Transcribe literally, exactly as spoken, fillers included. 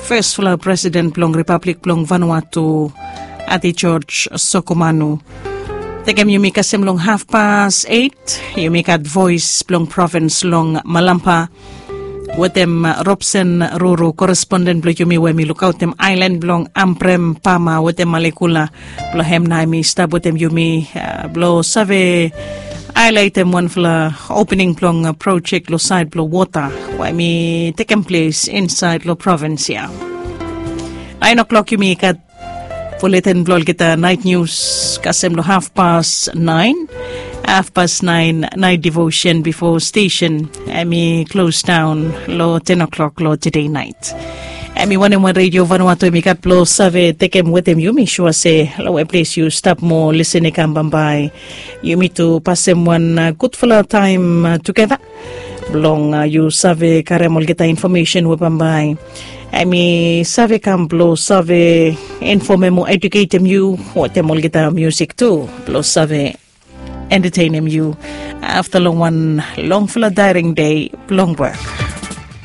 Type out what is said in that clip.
Fes fala presiden blong ripablik blong Vanuatu, Ati George Sokomanu. Tekem yumi kasem long hafpas eit, yumi gat voes blong provins long Malampa wetem Robson Ruru, koresponden blong yumi we mi lukaotem ailan blong Ambrem Pama wetem Malekula. Blong hem nao mi stap wetem yumi blong save ailaitem wanfala opening blong projek long sait blong wota we mi tekem ples insaet long provins ya. Naen o'klok yumi gat fuleten blong olgeta naet nius kasem long hafpas naen. Hafpas naen naet devosen bifo stesen em i klos daon long ten o'klok long tede naet. Em i wanem wan redio Vanuatu em i gat blong save tekem wetem yu. Mi sua se long we ples yu stap moa lesen i kam bambae, yumi tu pasem wan gudfala taem tugeta blong yu save karem olgeta infomesen we bambae em i save kam blong save infomem o eduketem yu, wetem olgeta musik tu blong save entetenem yu afta long wan longfala daering dei blong wok.